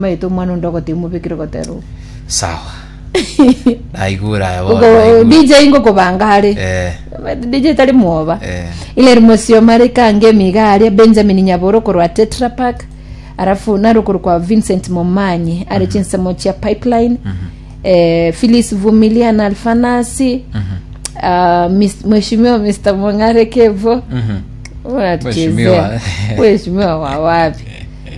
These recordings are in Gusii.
Maete omwana onde ogotebi mobekire gotera oko. Sawa. Naigure aya bono. Ugo naigure. DJ ngokobanga are. Eh. Maete DJ tari mwoba. Eh. Hilary Mosioma kange emiga aria Benjamin Nyaboro korwa Tetra Pak alafu narokoro kwa Vincent Momanyi are chinsemo chia Pipeline eh, Phyllis Vumilia na Alfanasi ah, Mis- Mheshimiwa Mr. Mong'are Kevo Mhm. Unatuchezea. Mheshimiwa. Mheshimiwa wa wapi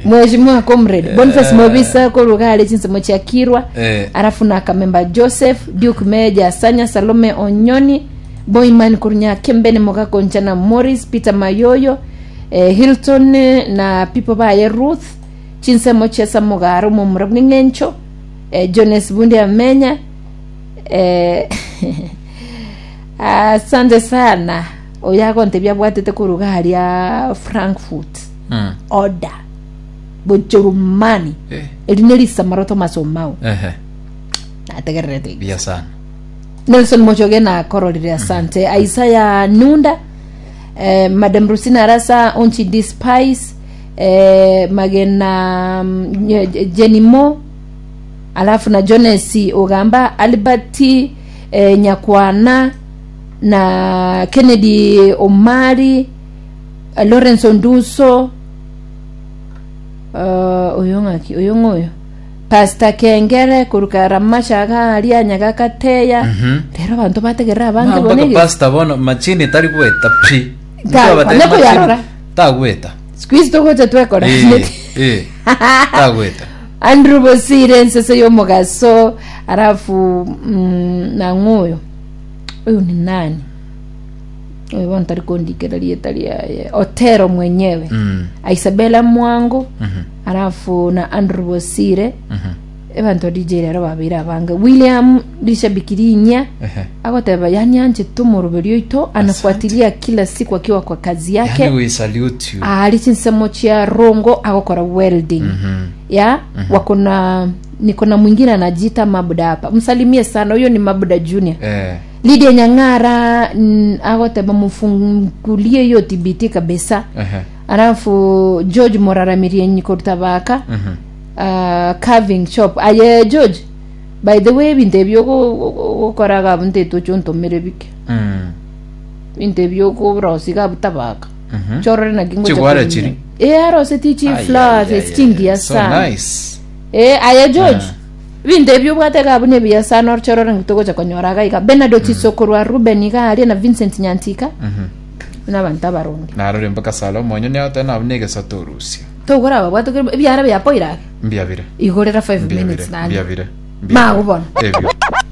Mheshimiwa Comrade Boniface Mobisa koruga are chinsemo chia Kirwa Eh. alafu na Kamemba Joseph Duke Meja Sanya Salome Onyoni Boyman Kurunya Kembene Mogakoncha na Morris Peter Mayoyo eh, Hilton eh, na people baye Ruth chinsemo chia Samogaro momura bw'eng'encho eh, Jones Bundi Amenya eh, asante sana oyo agontebia abwatete koruga aria Frankfurt Mm. order bochorumani Eh. eri ne risamaro Thomas Omao Ehe. nategererete Buya sana. Nelson Mochoge na kororire asante Isaiah Nunda eh, Madam Rusina Arasa Onchi D Spice eh, Magena mm, Nye- Jenny Mo alafu na Jones Ogamba Albert eh, Nyakwana na Kennedy Omari eh, Lawrence Onduso uh, oyo ng'aki oyo ng'oyo Pastor Kengere koruka Ramasha iga aria Nyagakateya Mhm. rero abanto bategerera abange Mpaka bono ege pastor bono machini tari gweta pi. Ta- Ndio batari onye koyarora. machini, Tagweta. siku hizi togocha twekora Eh, eh. Tagweta. Andrew Bosire ensese y'omogaso alafu mm, nang'oyo oyo ni nani oyo bono tari kondikera rieta riaye Otero mwenyewe Mm. Isabella Mwango Mhm. alafu na Andrew Bosire Mhm. ebanto DJ rero babeire abange William Rishabiki Rinya Ehe. agoteba yani anchete omoroberi oito anafuatilia kila siku akiwa kwa kazi yake Yani we salute you. ari chinsemo chia rongo agokora welding Mhm. ya wako na niko na mwingine anajiita mabuda hapa msalimie sana huyo ni mabuda junior Eh. Lydia Nyang'ara mm, agoteba mufungulie hiyo TBT kabisa Ehe. alafu George Moraramirie korutabaka Mhm. uh, carving shop aye George by the way ebinto ebio ogokoraga abwo ntaete oche ontomere bike Mm. ebinto ebio okorosia iga abwo tabaka Mhm. chorore naki ngocha Chigware korina. chiri? Eh aroseti chi Ai, ai, flowers ai, esi ai, chingiya ai. So sana nice. Eh, aye George ebinto ebio obwate iga abwo nebiya sana orchorore naki togocha konyora iga iga Bernard Otiso korwa Ruben iga aria na Vincent Nyantika Mhm. buna abanto abaronge Narore mpaka sala omonyo niagote nabo negesato orusia. togora ababwate ebiara biapoire ake Mbiabire. igorera 5 Mbiabire. minutes nande Mbiabire. Mago bono. Ebio.